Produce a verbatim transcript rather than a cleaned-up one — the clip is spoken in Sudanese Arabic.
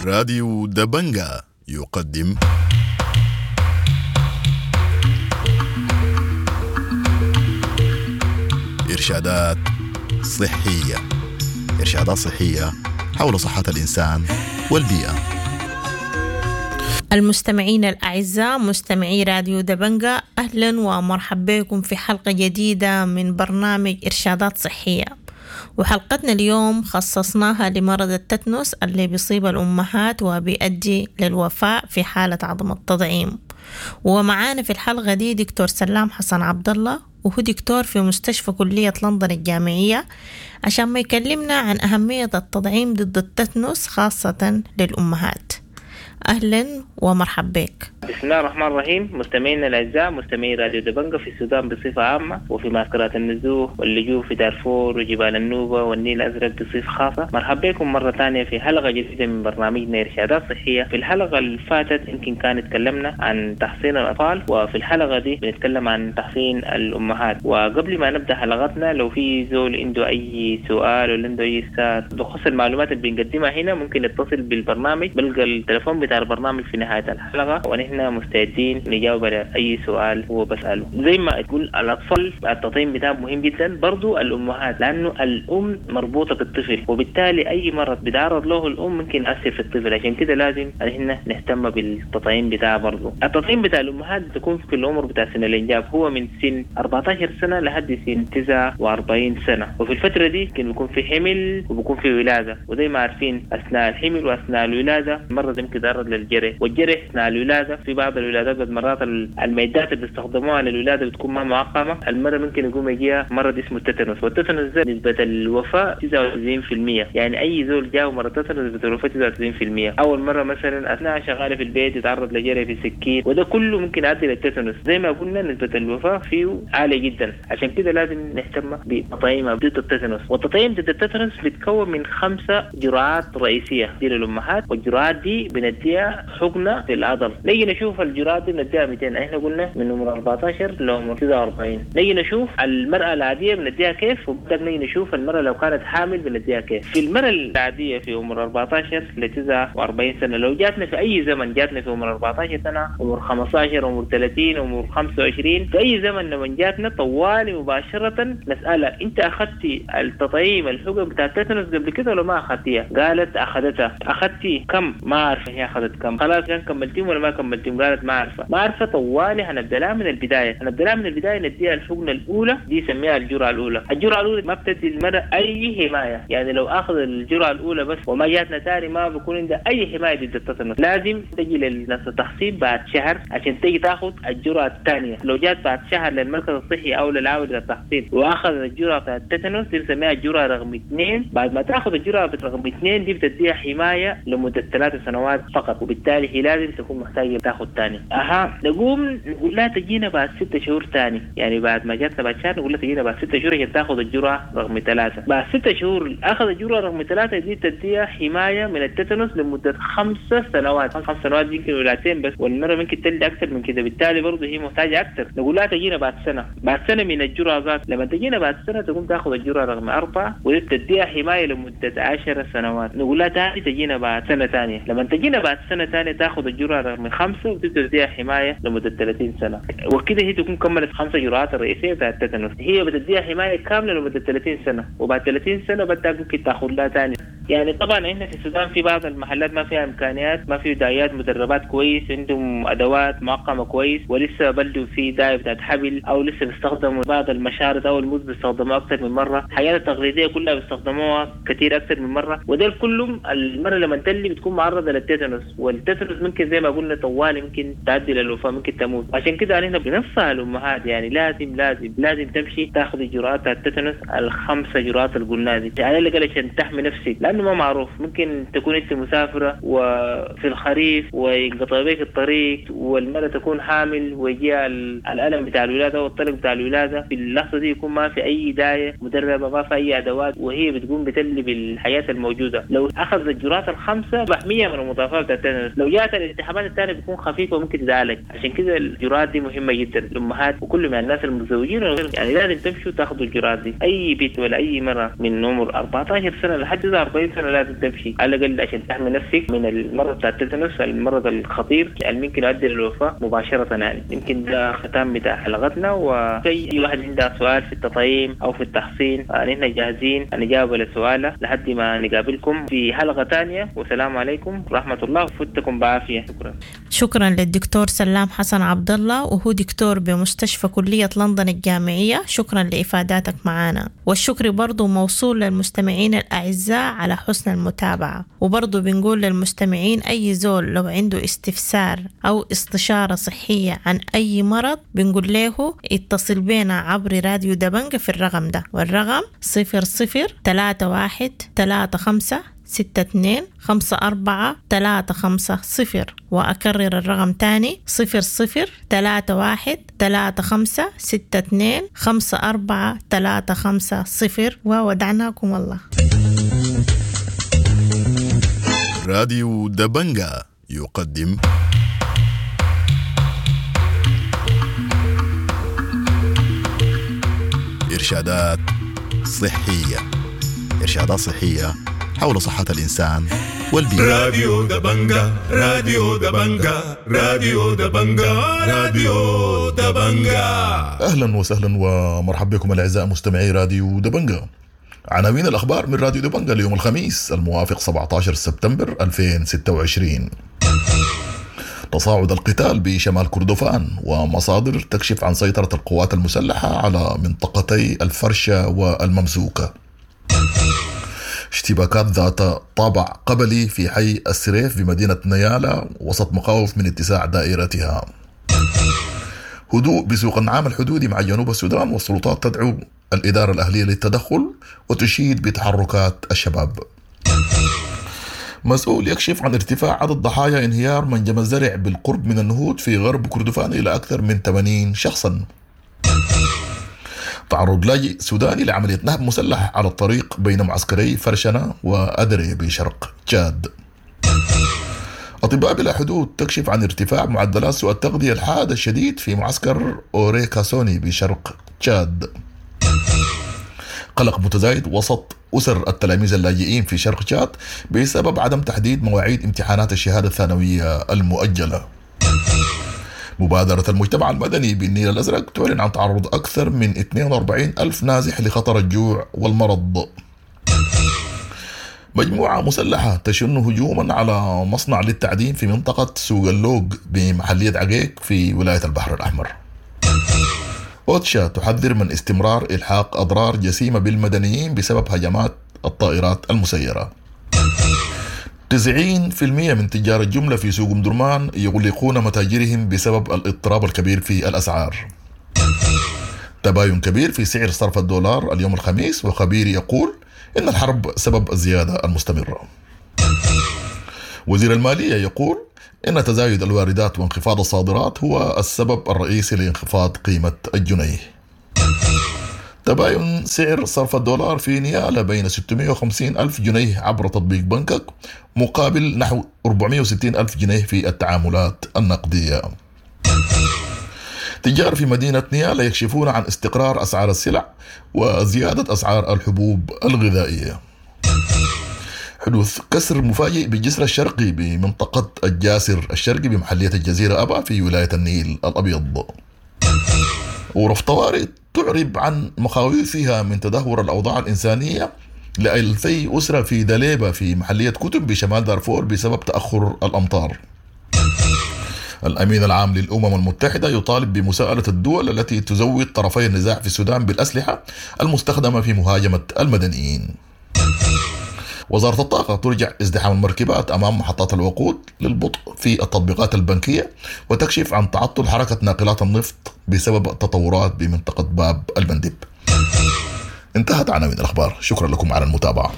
راديو دبنجا يقدم إرشادات صحية. إرشادات صحية حول صحة الإنسان والبيئة. المستمعين الأعزاء، مستمعي راديو دبنجا، أهلا ومرحبا بكم في حلقة جديدة من برنامج إرشادات صحية. وحلقتنا اليوم خصصناها لمرض التتنس اللي بيصيب الأمهات وبيؤدي للوفاة في حالة عدم التطعيم. ومعانا في الحلقة دي دكتور سلام حسن عبد الله، وهو دكتور في مستشفى كلية لندن الجامعية، عشان ما يكلمنا عن أهمية التطعيم ضد التتنس خاصة للأمهات. أهلا ومرحبا بك. بسم الله الرحمن الرحيم. مستمعينا الأعزاء، مستمعي راديو دبنجا في السودان بصفة عامة، وفي معسكرات النزوح واللجوء في دارفور وجبال النوبة والنيل الأزرق بصفة خاصة، مرحبا بكم مرة ثانية في حلقة جديدة من برنامجنا إرشادات صحية. في الحلقة اللي فاتت يمكن كان تكلمنا عن تحصين الأطفال، وفي الحلقة دي بنتكلم عن تحصين الأمهات. وقبل ما نبدأ حلقتنا، لو في زول عنده أي سؤال ولا عنده أي استفسار بخصوص المعلومات اللي بنقدمها هنا، ممكن يتصل بالبرنامج، بلقى التليفون بتاع البرنامج في نهاية الحلقة، ونحن مستعدين نجاوب على أي سؤال هو بسأله. زي ما تقول الأطفال التطعيم بتاعهم مهم جدا، برضو الأمهات، لأنه الأم مربوطة بالطفل، وبالتالي أي مرض بيتعرض له الأم ممكن يأثر في الطفل. عشان كده لازم نحن نهتم بالتطعيم بتاعه. برضو التطعيم بتاع الأمهات بتكون في العمر بتاع سن الإنجاب، هو من سن أربعتاشر سنة لحد سن تسعة وأربعين سنة، وفي الفترة دي ممكن يكون في حمل وبيكون في ولادة. وزي ما عارفين أثناء الحمل وأثناء الولادة المرض ممكن يتعرض للجرح، والجرح أثناء الولادة في بعض الولادات بعد مرات المعدات اللي بيستخدموها للولادة بتكون ما معقمة، المرة ممكن يقوم يجيها مرض اسمه التتنس، والتتنس ده نسبة الوفاة تسعة وتسعين في المية. يعني أي زول جاء مرض التتنس نسبة الوفاة تسعة وتسعين في المية. أول مرة مثلا أثناء شغالة في البيت يتعرض لجرح في سكين، وده كله ممكن يؤدي للتتنس. زي ما قلنا نسبة الوفاة فيه عالية جدا، عشان كده لازم نهتم بتطعيم ضد التتنس. والتطعيم ضد التتنس بيتكون من خمسة جرعات رئيسية دي للأمهات، والجرعات دي بنديها حقنة في العضل. نيجي نشوف الجرعات دي بنديها مئتين، احنا قلنا من عمر أربعتاشر لعمر تسعة وأربعين. نيجي نشوف المرأة العادية بنديها كيف، وبعدين نيجي نشوف المرأة لو كانت حامل بنديها كيف. في المرأة العادية في عمر أربعتاشر ل تسعة وأربعين سنة، لو جاتنا في أي زمن، جاتنا في عمر أربعتاشر سنة، عمر خمستاشر، عمر ثلاثين، عمر خمسة وعشرين، في أي زمن لما جاتنا طوالي مباشرة نسألها أنت أخذتي التطعيم الحقن بتاع التتنس قبل كده ولا ما أخذتيها؟ قالت أخذتها. أخذتي كم؟ ما عارفة هي أخذت كم. خلاص كان كملتيهم ولا ما كملتيهم؟ قالت ما عارفة. ما عارفة. طوالي هنبدأ لها من البداية، هنبدأ لها من البداية نديها الحقنة الأولى، دي سميها الجرعة الأولى. الجرعة الأولى ما بتدي المرأة أي حماية، يعني لو أخذ الجرعة الأولى بس وما جاتنا تاني ما بيكون عندها أي حماية ضد التتنس. لازم تجي للناس التحصين بعد شهر عشان تيجي تاخذ الجرعة الثانية. لو جات بعد شهر للمركز الصحي أو للعامل التحصين وأخذ الجرعة بتاعت التتنس، دي بنسميها الجرعة رقم اثنين. بعد ما تاخذ الجرعة رقم اثنين دي بتديها حماية لمدة ثلاث سنوات فقط، وبالتالي هي لازم تكون محتاجة تاخذ ثاني. أها نقوم نقول لها تجينا بعد ستة شهور ثاني، يعني بعد ما جاتنا بعد شهر نقول لها تجينا بعد ستة شهور عشان تاخذ الجرعة رقم ثلاثة. بعد ستة شهور أخذ الجرعة رقم ثلاثة دي تديها حماية من التتنس لمدة خمسة سنوات. خمس سنوات يمكن ولادتين بس، والمرة ممكن تلد أكثر من كده، بالتالي برضه هي محتاجة أكثر. نقول لها تجينا بعد سنة، بعد سنة من الجرعة ذات. لما تجينا بعد سنة تقوم تاخذ الجرعة رقم أربعة وتديها حماية لمدة عشر سنوات. نقول لها تاني تجينا بعد سنة ثانية. لما تجينا بعد سنة ثانية تاخذ الجرعة رقم خمسة وتديها حماية لمدة ثلاثين سنة، وكده هي تكون كملت خمسة جرعات الرئيسية بتاعت التتنس. هي بتديها حماية كاملة لمدة ثلاثين سنة، وبعد ثلاثين سنة بدها ممكن تاخذ لها ثاني. يعني طبعا احنا في السودان في بعض المحلات ما فيها امكانيات، ما في دايات مدربات كويس، عندهم ادوات معقمه كويس، ولسه بلدوا في دايه بتاعت حبل، او لسه بيستخدموا بعض المشارط او الموز بيستخدموها اكثر من مره، الحياه التقليديه كلها بيستخدموها كثير اكثر من مره، وده كلهم المره لما تلي بتكون معرضه للتتنس، والتتنس ممكن زي ما قلنا طوالي ممكن تؤدي للوفاه، ممكن تموت. عشان كده احنا بننصح الامهات يعني لازم لازم لازم تمشي تاخذ جرعات التتنس الخمسه جرعات اللي قلناها دي، على الاقل عشان تحمي نفسك، لانه ما معروف ممكن تكون انت مسافره وفي الخريف وينقطع بك الطريق، والمرأة تكون حامل ويجيها الالم بتاع الولاده والطلق بتاع الولاده، في اللحظه دي يكون ما في اي دايه مدربه، ما في اي ادوات، وهي بتقوم بتلي بالحياه الموجوده. لو اخذت الجرعات الخمسه محميه من المضاعفات بتاعت التتنس، لو جات الالتهابات الثانيه بتكون خفيفه وممكن تتعالج. عشان كده الجرعات دي مهمه جدا للامهات وكل من الناس المتزوجين، يعني لازم تمشوا تاخذوا الجرعات دي. اي بيت ولا اي مرأة من عمر أربعتاشر سنه لحد أربعين كل سنة لازم تمشي على الاقل عشان تحمي نفسك من المرض بتاع التيتانوس، المرض الخطير اللي ممكن يؤدي للوفاه مباشرة. يعني يمكن ده ختام بتاع حلقتنا، وأي واحد عنده سؤال في التطعيم او في التحصين نحن جاهزين نجاوب على سؤاله لحد ما نقابلكم في حلقة ثانية، والسلام عليكم ورحمة الله، وفتكم بعافية. شكرا. شكرا للدكتور سلام حسن عبد الله، وهو دكتور بمستشفى كلية لندن الجامعية. شكرا لإفاداتك معنا، والشكر برضو موصول للمستمعين الأعزاء على حسن المتابعة. وبرضو بنقول للمستمعين أي زول لو عنده استفسار أو استشارة صحية عن أي مرض بنقول له اتصل بينا عبر راديو دبنجة في الرقم ده، والرقم صفر صفر تلاتة واحد تلاتة خمسة ستة اتنين خمسة أربعة تلاتة خمسة صفر. وأكرر الرقم تاني صفر صفر تلاتة واحد تلاتة خمسة ستة اتنين خمسة أربعة تلاتة خمسة صفر. وودعناكم الله. راديو دبنجا يقدم إرشادات صحية. إرشادات صحية حول صحة الإنسان والبيئة. راديو دبنجا، راديو دبنجا، راديو دبنجا، راديو دبنجا. أهلا وسهلا ومرحبا بكم الأعزاء مستمعي راديو دبنجا. عناوين الأخبار من راديو دبنجا اليوم الخميس الموافق سبعة عشر سبتمبر ألفين وستة وعشرين. تصاعد القتال بشمال كردفان، ومصادر تكشف عن سيطرة القوات المسلحة على منطقتي الفرشة والممسوكة. اشتباكات ذات طابع قبلي في حي السريف بمدينة نيالا وسط مخاوف من اتساع دائرتها. هدوء بسوق النعام الحدودي مع جنوب السودان، والسلطات تدعو الإدارة الأهلية للتدخل وتشيد بتحركات الشباب. مسؤول يكشف عن ارتفاع عدد ضحايا انهيار منجم الزرع بالقرب من النهود في غرب كردفان إلى أكثر من ثمانين شخصا. تعرض لاجئ سوداني لعملية نهب مسلح على الطريق بين معسكري فرشنة وأدري بشرق تشاد. أطباء بلا حدود تكشف عن ارتفاع معدلات سوء التغذية الحاد الشديد في معسكر أوريكاسوني بشرق تشاد. قلق متزايد وسط أسر التلاميذ اللاجئين في شرق تشاد بسبب عدم تحديد مواعيد امتحانات الشهادة الثانوية المؤجلة. مبادرة المجتمع المدني بالنيل الأزرق تعلن عن تعرض أكثر من اثنين وأربعين ألف نازح لخطر الجوع والمرض. مجموعة مسلحة تشن هجوما على مصنع للتعدين في منطقة سوق اللوق بمحلية عقيق في ولاية البحر الأحمر. أوتشا تحذر من استمرار إلحاق أضرار جسيمة بالمدنيين بسبب هجمات الطائرات المسيرة. تسعين بالمئة من تجار الجملة في سوق أم درمان يغلقون متاجرهم بسبب الاضطراب الكبير في الأسعار. تباين كبير في سعر صرف الدولار اليوم الخميس، وخبير يقول إن الحرب سبب الزيادة المستمرة. وزير المالية يقول إن تزايد الواردات وانخفاض الصادرات هو السبب الرئيسي لانخفاض قيمة الجنيه. تباين سعر صرف الدولار في نيالة بين ستمائة وخمسين ألف جنيه عبر تطبيق بنكك مقابل نحو أربعمائة وستين ألف جنيه في التعاملات النقدية. تجار في مدينة نيالة يكشفون عن استقرار أسعار السلع وزيادة أسعار الحبوب الغذائية. حدوث كسر مفاجئ بالجسر الشرقي بمنطقة الجاسر الشرقي بمحلية الجزيرة أبا في ولاية النيل الأبيض. ورف طوارئ تعرب عن مخاوفها من تدهور الأوضاع الإنسانية لألفي أسرة في دليبة في محلية كتب بشمال دارفور بسبب تأخر الأمطار. الأمين العام للأمم المتحدة يطالب بمساءلة الدول التي تزود طرفي النزاع في السودان بالأسلحة المستخدمة في مهاجمة المدنيين. وزارة الطاقة ترجع ازدحام المركبات أمام محطات الوقود للبطء في التطبيقات البنكية وتكشف عن تعطل حركة ناقلات النفط بسبب التطورات بمنطقة باب المندب. انتهت عناوين الأخبار، شكرا لكم على المتابعة.